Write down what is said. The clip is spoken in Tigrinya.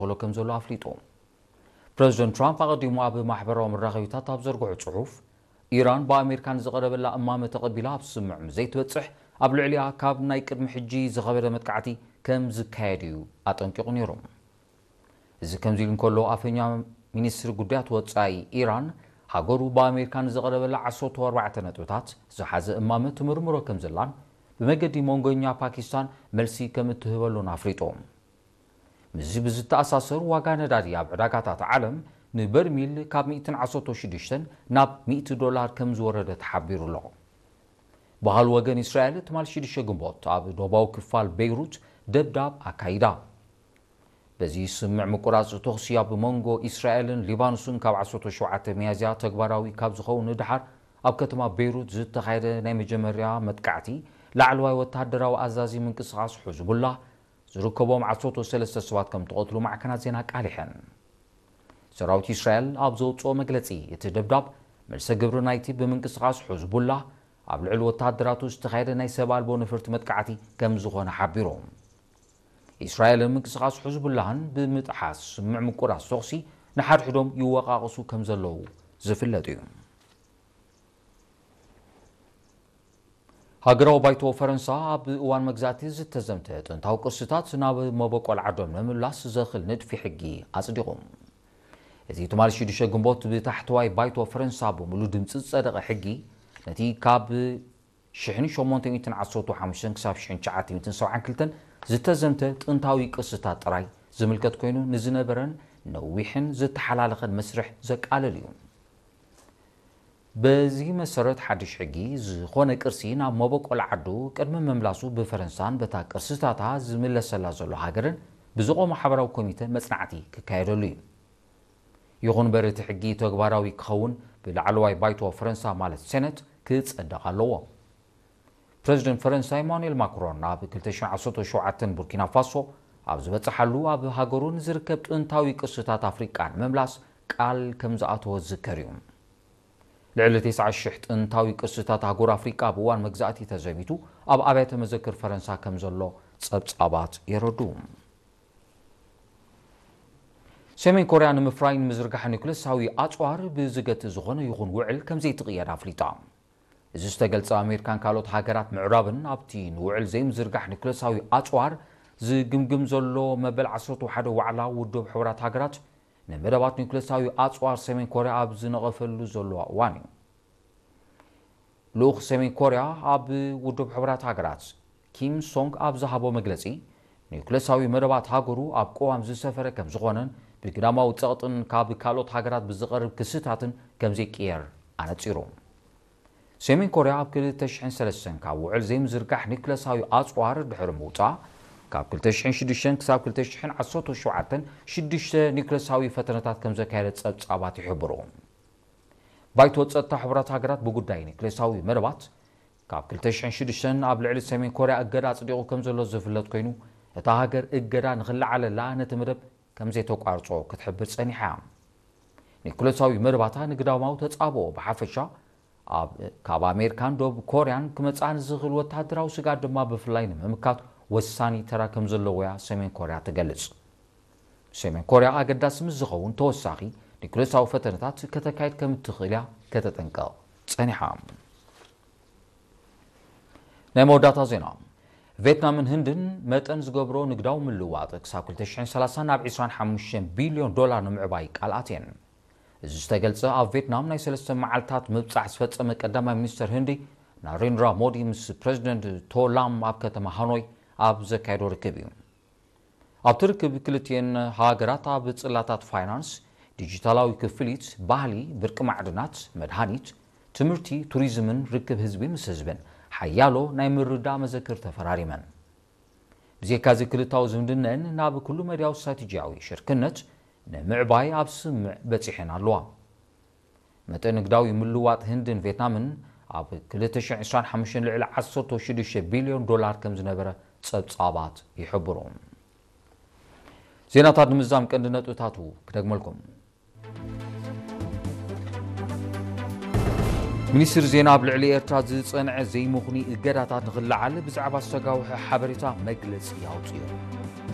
ይቕበሎ ከም ዘሎ ኣፍሊጡ። ፕረዚደንት ትራምፕ ኣቐዲሙ ኣብ ማሕበራዊ መራኸቢታት ኣብ ዘርግሖ ጽሑፍ፣ ኢራን ብኣሜሪካ ንዝቐረበላ እማመ ተቐቢላ ኣብ ስምምዕ ምስ ዘይትበጽሕ፣ ኣብ ልዕሊኣ ካብ ናይ ቅድሚ ሕጂ ዝኸበደ መጥቃዕቲ ከም ዝካየድ እዩ ኣጠንቂቑ ነይሩ። እዚ ከምዚ ኢሉ እንከሎ፣ ኣፈኛ ሚኒስትሪ ጉዳያት ወጻኢ ኢራን፣ ሃገሩ ብኣሜሪካ ንዝቐረበላ ዓሰርተ ኣርባዕተ ነጥብታት ዝሓዘ እማመ ትምርምሮ ከም ዘላን ብመገዲ መንጎኛ ፓኪስታን መልሲ ከም እትህበሉን ኣፍሊጡ። ምስዚ ብዝተኣሳሰር፣ ዋጋ ነዳዲ ኣብ ዕዳጋታት ዓለም ንበርሚል ካብ ሚእትን ዓሰርተ ሽዱሽተን ናብ ሚእቲ ዶላር ከም ዝወረደ ተሓቢሩ ኣሎ። ባህል ወገን እስራኤል ትማል ሽዱሽተ ግንቦት ኣብ ደቡባዊ ክፋል ቤይሩት ደብዳብ ኣካይዳ። በዚ ስምምዕ ምቁራጽ ተኹሲ ኣብ መንጎ እስራኤልን ሊባኖስን ካብ ዓሰርተ ሸውዓተ ሚያዝያ ተግባራዊ ካብ ዝኸውን ንድሓር፣ ኣብ ከተማ ቤይሩት ዝተኻየደ ናይ መጀመርያ መጥቃዕቲ፣ ላዕለዋይ ወተሃደራዊ ኣዛዚ ምንቅስቓስ ሕዝቡላ ዝርከቦም ዓሰርተ ሰለስተ ሰባት ከም ተቐትሉ ማዕከናት ዜና ኣቃሊሐን። ሰራዊት እስራኤል ኣብ ዘውፅኦ መግለፂ፣ እቲ ደብዳብ መልሰ ግብሪ ናይቲ ብምንቅስቓስ ሕዝቡላ ኣብ ልዕሊ ወተሃደራቱ ዝተኻየደ ናይ ሰብ ኣልቦ ነፈርቲ መጥቃዕቲ ከም ዝኾነ ሓቢሩ። እስራኤልን ምንቅስቓስ ሕዝቡላህን ብምጥሓስ ስምምዕ ምቁራጽ ተኹሲ ንሓድሕዶም ይወቃቐሱ ከም ዘለዉ ዝፍለጥ እዩ። ሃገራዊ ባይቶ ፈረንሳ ኣብ እዋን መግዛእቲ ዝተዘምተ ጥንታዊ ቅርስታት ናብ መበቆል ዓዶም ንምምላስ ዘኽል ንድፊ ሕጊ ኣጽዲቑ። እዚ ትማሊ ሽዱሽተ ግንቦት ብታሕተዋይ ባይቶ ፈረንሳ ብምሉእ ድምጺ ዝጸደቐ ሕጊ፣ ነቲ ካብ ሽሕን ሸሞንተ ሚእትን ዓሰርተ ሓሙሽተን ክሳብ ሽሕን ትሽዓተ ሚእትን ሰብዓን ክልተን ዝተዘምተ ጥንታዊ ቅርስታት ጥራይ ዝምልከት ኮይኑ፣ ንዝነበረን ነዊሕን ዝተሓላለኸን መስርሕ ዘቃልል እዩ። በዚ መሰረት፣ ሓድሽ ሕጊ ዝኾነ ቅርሲ ናብ መበቆል ዓዱ ቅድሚ ምምላሱ ብፈረንሳን በታ ቅርስታታ ዝምለሰላ ዘሎ ሃገርን ብዝቖመ ሓበራዊ ኮሚተ መጽናዕቲ ክካየደሉ እዩ። ይኹን እምበር፣ እቲ ሕጊ ተግባራዊ ክኸውን ብላዕለዋይ ባይቶ ፈረንሳ፣ ማለት ሴነት፣ ክጸደቕ ኣለዎ። ፕረዚደንት ፈረንሳ ኢማኑኤል ማክሮን ኣብ ክልተ ሽሕን ዓሰርተ ሸውዓተን ቡርኪና ፋሶ ኣብ ዝበጽሓሉ፣ ኣብ ሃገሩ ንዝርከብ ጥንታዊ ቅርስታት ኣፍሪቃ ንምምላስ ቃል ከም ዝኣተወ ዝዝከር እዩ። ልዕሊ ተስዓ ሽሕ ጥንታዊ ቅርስታት ኣህጉር ኣፍሪቃ ኣብ እዋን መግዛእቲ ተዘሚቱ ኣብ ኣብያተ መዘክር ፈረንሳ ከም ዘሎ ጸብጻባት የረድኡ። ሰሜን ኮርያ ንምፍራይ ንምዝርጋሕ ኒውክለሳዊ ኣጽዋር ብዝገትእ ዝኾነ ይኹን ውዕል ከም ዘይትቕየድ ኣፍሊጣ። እዚ ዝተገልጸ፣ ኣሜሪካን ካልኦት ሃገራት ምዕራብን ኣብቲ ንውዕል ዘይምዝርጋሕ ኒውክለሳዊ ኣጽዋር ዝግምግም ዘሎ መበል ዓሰርተ ሓደ ዋዕላ ውድብ ሕቡራት ሃገራት፣ ንመደባት ኒውክለሳዊ ኣጽዋር ሰሜን ኮርያ ኣብ ዝነቐፈሉ ዘለዋ እዋን እዩ። ልኡኽ ሰሜን ኮርያ ኣብ ውድብ ሕቡራት ሃገራት ኪም ሶንግ ኣብ ዝሃቦ መግለጺ፣ ኒውክለሳዊ መደባት ሃገሩ ኣብ ቅዋም ዝሰፈረ ከም ዝኾነን ብግዳማዊ ጸቕጥን ካብ ካልኦት ሃገራት ብዝቐርብ ክስታትን ከም ዘይቅየር ኣነጺሩ። ሰሜን ኮርያ ኣብ ክልተ ሽሕን ሰለስተን ካብ ውዕል ዘይምዝርጋሕ ኒውክለሳዊ ኣጽዋር ድሕሪ ምውጻእ፣ ካብ ክልተ ሽሕን ሽዱሽተን ክሳብ ክልተ ሽሕን ዓሰርተ ሸውዓተን ሽዱሽተ ኒውክለሳዊ ፈተነታት ከም ዘካየደት ጸብጻባት ይሕብሩ። ባይቶ ጸጥታ ሕቡራት ሃገራት ብጉዳይ ኒውክሌሳዊ መደባት ካብ ክልተ ሽሕን ሽዱሽተን ኣብ ልዕሊ ሰሜን ኮርያ እገዳ ኣጽዲቑ ከም ዘሎ ዝፍለጥ ኮይኑ፣ እታ ሃገር እገዳ ንኽለዓለላ ነቲ መደብ ከም ዘይተቋርጾ ክትሕብር ጸኒሓ እያ። ኒውክሌሳዊ መደባታ ንግዳማዊ ተጻብኦ ብሓፈሻ፣ ኣብ፣ ካብ ኣሜሪካን ደቡብ ኮርያን ክመጽኣ ንዝኽእል ወተሃደራዊ ስግኣት ድማ ብፍላይ ንምምካት ወሳኒ ተራ ከም ዘለዎ እያ ሰሜን ኮርያ ትገልጽ። ሰሜን ኮርያ ኣገዳሲ ምስ ዝኸውን ተወሳኺ ኒውክሌሳዊ ፈተነታት ከተካይድ ከም እትኽእል እያ ከተጠንቀቕ ጸኒሓ። ናይ መወዳእታ ዜና። ቬትናምን ህንድን መጠን ዝገብሮ ንግዳዊ ምልውዋጥ ክሳብ ክልተ ሽሕን ሰላሳን ናብ ዕስራን ሓሙሽተን ቢልዮን ዶላር ንምዕባይ ቃል ኣትየን። እዚ ዝተገልጸ፣ ኣብ ቬትናም ናይ ሰለስተ መዓልታት ምብጻሕ ዝፈጸመ ቀዳማይ ሚኒስተር ህንዲ ናሬንድራ ሞዲ ምስ ፕረዚደንት ቶ ላም ኣብ ከተማ ሃኖይ ኣብ ዘካየዶ ርክብ እዩ። ኣብቲ ርክብ፣ ክልቲኤን ሃገራት ኣብ ጽላታት ፋይናንስ፣ ዲጂታላዊ ክፍሊት፣ ባህሊ፣ ብርቂ ማዕድናት፣ መድሃኒት፣ ትምህርቲ፣ ቱሪዝምን ርክብ ህዝቢ ምስ ህዝብን ሓያሎ ናይ ምርዳእ መዘክር ተፈራሪመን። ብዘይካዚ፣ ክልታዊ ዝምድነን ናብ ኩሉ መዳያዊ ስትራቴጂያዊ ሽርክነት ንምዕባይ ኣብ ስምምዕ በጺሐን ኣለዋ። መጠን ንግዳዊ ምልዋጥ ህንድን ቬትናምን ኣብ ክልተ ሽሕን ዕስራን ሓሙሽተን ልዕሊ ዓሰርተ ሽዱሽተ ቢልዮን ዶላር ከም ዝነበረ ጸብጻባት ይሕብሩ። ዜናታት ንምዝዛም ቀንዲ ነጥብታቱ ክደግመልኩም። ሚኒስትሪ ዜና ኣብ ልዕሊ ኤርትራ ዝጸንዐ ዘይምኽኑይ እገዳታት ንኽለዓል ብዛዕባ ዝተጋውሐ ሓበሬታ መግለጺ ኣውጺኡ።